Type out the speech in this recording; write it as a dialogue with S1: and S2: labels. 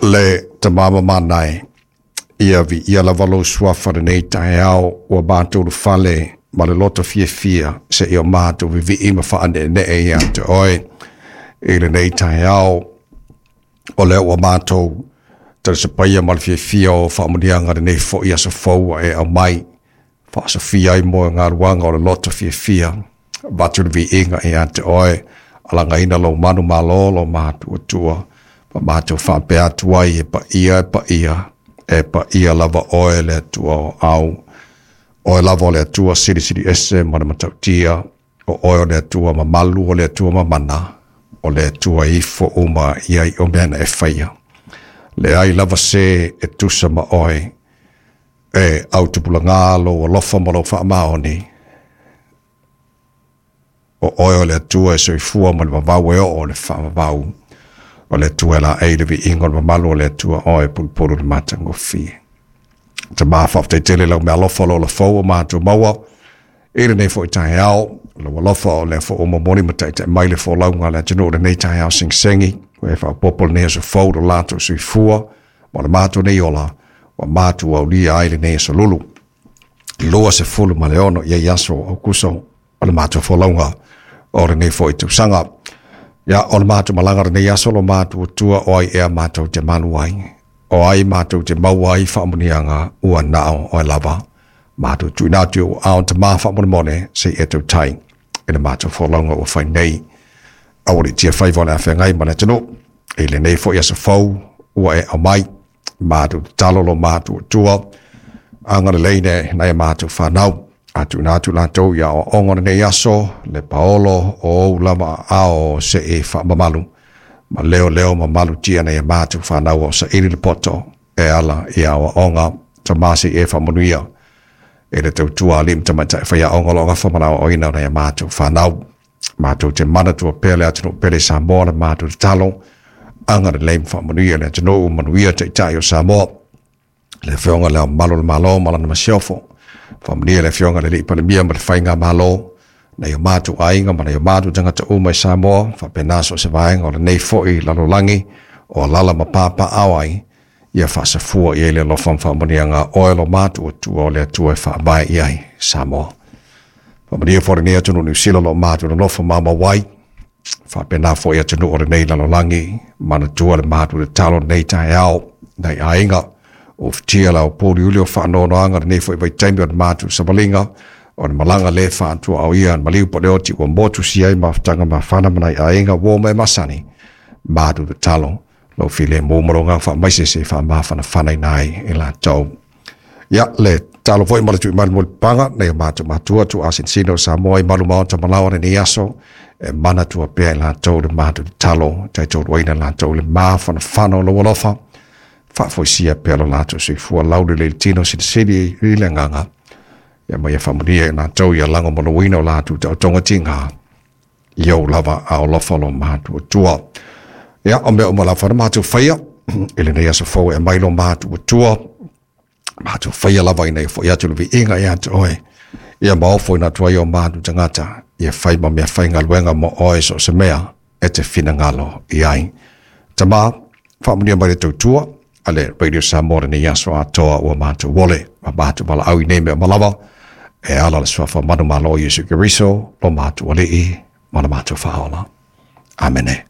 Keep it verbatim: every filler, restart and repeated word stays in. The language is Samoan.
S1: Le Tama mamana e, ia viia lava lou suafa lenei taeao ua matou ulufale ma le loto fiafia seia o matou vivii ma faaneenee ia te oe i lenei taeao. O lea ua matou talisapaia ma le fiafia o faamuniaga lenei foi aso fou ua e aumai faasofia ai mo galuaga o le loto fiafia. Avatu le viiga ia te oe, alagaina lou manu malo lo matuatua ma matou faapea atu ai, e paia e paia e paia lava oe le Atua o au, oe lava o le Atua silisili ese ma le matautia, o oe o le Atua mamalu, o le Atua mamana, o le Atua ifo uma i ai o mea na e faia. Leai lava se e tusa ma oe, e autupulaga lou alofa ma lou faamaoni. O oe o le Atua e soifua ma le vavau e oo o le faavavau. O le Atua e laei le viiga o le mamalu o le Atua oe pulupulu le matagofie. Tama, faafetai tele lau meaalofa lo lafou o matou maua i lenei foi taeao. Lau alofa o lea foi ua momoli ma taitai mai le folauga a le atunuu lenei taeao segisegi. Ua e faaopoopo lenei aso fou lo latou soifua ma le matou nei ola ua matou aulia ai lenei aso lulu. Lua sefulu ma le ono i ai aso o Aokuso o le matou folauga o lenei foi tausaga. Ia, o le matou malaga lenei aso lo matou tua o ai ea matou te malu ai, o ai matou te maua ai faamuniaga ua nao oe lava. Matou tuuina atu i ou aao Tama faamolemole se i e tautai i le matou folauga ua fai nei. Aua le tia faiva o le afeagai ma le atunuu i lenei foi aso fou ua e aumai. Matou tatalo lo matou tua agalelei ne nai a matou fanau. A tuuina atu latou i aoaoga o lenei aso, le paolo o ou lava aao se i faamamalu ma leoleo ma malutia nei a matou fanau o saili le poto e ala i aoaoga. Tama se i e faamanuia e le tautua alii ma tamaitai faiaoga o lo o gafa ma le aoaoina o nai a matou fanau. Matou te manatua pea le atunuu pele Samoa le matou tatalo, agalelei ma faamanuia le atunuu, manuia taitai o Samoa, le Afioga le Ao Mamalu o le Malo ma lana masiofo, faamanuia le Afioga le Alii Palemia ma le Faigamalo, nai o matou aiga ma nai o matou tagata uma i Samoa, faapena so o se vaega o lenei foi lalolagi o alala ma papaao ai, ia faasafua i ai le alofa ma faamanuiaga a oe lo matou Atua o le Atua e faavae i ai Samoa. Faamanuia foi lenei atunuu Niu Sila o lo o matou nonofo maumau ai, faapena foi atunuu o lenei lalolagi, manatua le matou tatalo lenei taeao, nai aiga, o fitia la o pōliuli o faanoanoaga lenei foi vaitaimi o le matou savaliga, o le malaga le faatuaoia maliu po le oti ua motu si ai mafutaga mafana ma nai aiga ua ma e masani. Matou tatalo lou filemu ma lou agaga faamaise se faamafanafanaina ai e latou. Ia, le tatalo foi ma le tuuina mai le mulipapaga nai o matou matua tuuasinosino o Samoa i malu maota malaoa lenei aso, e manatua pea e latou le matou tatalo, taitoluaina latou le mafanafana o lou alofa, faafoisia pea lo latou soifua laulelei le tino silisili i le agaga, ia ma ia faamanuia i latou ia lagomaluina o latou taotoga tiga i ou lava a alofa lo matou Atua. Ia, o mea uma lava na matou faia i lenei aso fou e aumai lo matou Atua, matou faia lava ina ia foi atu le viiga ia te oe, ia maofo ina atu ai o matou tagata, ia fai ma mea faigaluega mo oe so o se mea e te finagalo i ai. Tama, faamanuia mai le tautua a le Radio Samoa lenei aso atoa ua matou ole ma matou valaau i nei mea uma lava, e ala le suafa manumalo o Iesu Keriso, lo matou Alii ma le matou Faaola. Amene.